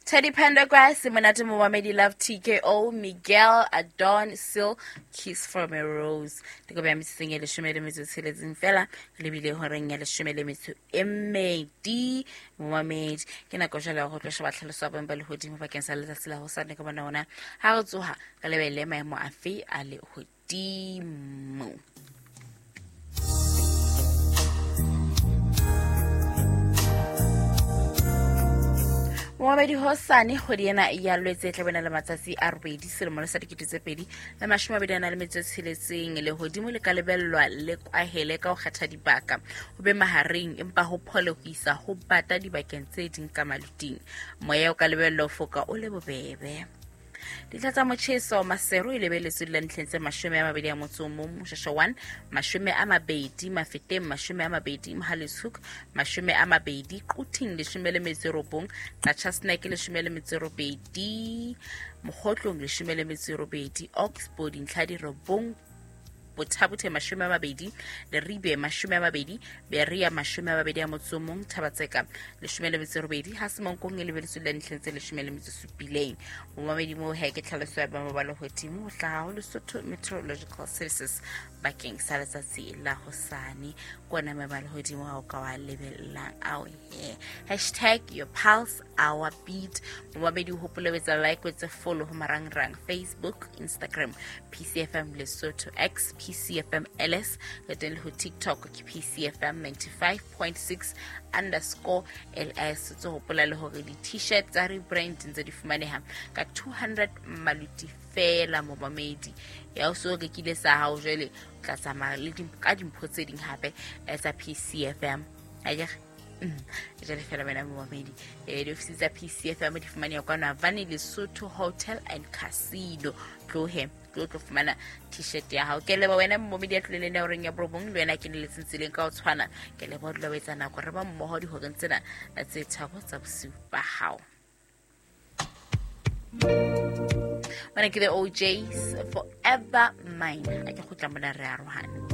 Teddy Pendergrass, Monate Momamedi Love TKO, Miguel Adon Sil, Kiss from a Rose. Dikobe ya metsotsong e 16 fela, re lebile horeng ya 12. Momamedi, ke nako jwale ya go tlo sheba tlhaloso ya boemo ba lehodimo bakeng sa letsatsi la hosane ka bona ona ha re tsoha re lebelle maemo afe a lehodimo. Momamedi, hosane kgwedi ena ya Lwetse e tla bena le matsatsi a 8 selemo le sa 2026, lehodimo le ka lebellwa le kwahele ka ho kgetha dibaka, ho be mahareng empa ho phole ho isa ho bata dibakeng tse ding ka maluting. Moya o ka lebellwa ho foka o le bobebe. Dintlha tsa motjheso, Maseru e lebeletswe dula ntlheng tse 21, Moshasha 1 20, Mafeteng 20, Mohale'shoek 20, Quthing 19, Qacha's Nek 18, Mokhotlong 18, Oxbow dintlha di 9, Botha-Bothe 20, Leribe 20, Berea 21, Thaba-Tseka 18, ha Semonkong e lebeletswe le ntlheng tse 17. Momamedi, moo he ke tlhaloso ya boemo ba lehodimo ho hlaha ho Lesotho Meteorological Services bakeng sa letsatsi la hosane. Ke ona maemo a lehodimo ha o ka wa lebellang ao he. Hashtag your pulse, our beat. Momamedi, o hopole ho etsa like, o etse follow ho marangrang Facebook, Instagram PCFM Lesotho, X PCFM LS, le teng le ho TikTok ke PCFM 95.6_LS. Tse hopola le hore di-T-shirt tsa rebrand ntse di fumaneha ka 200 maluti fela. Momamedi, ya o so rekile sa hao, jwale o tla tsamaya le ka dimpho tse ding hape tsa PCFM, akere? Jale fela wena momamedi, diofisi tsa PCFM di fumaneha kwano Havane Lesotho Hotel and Casino. Tlohe tlo fumana T-shirt ya hao. Ke leba wena momamedi ya tloleleng ya horeng ya 9, le wena ke neletseng tseleng ka ho tshwana. Ke leba o dula o etsa nako re ba mmoho dihoreng tsena tse 3 tsa bosiu ba hao. Mona ke the OJs, Forever Mine. A ke kgutla mona re arohane.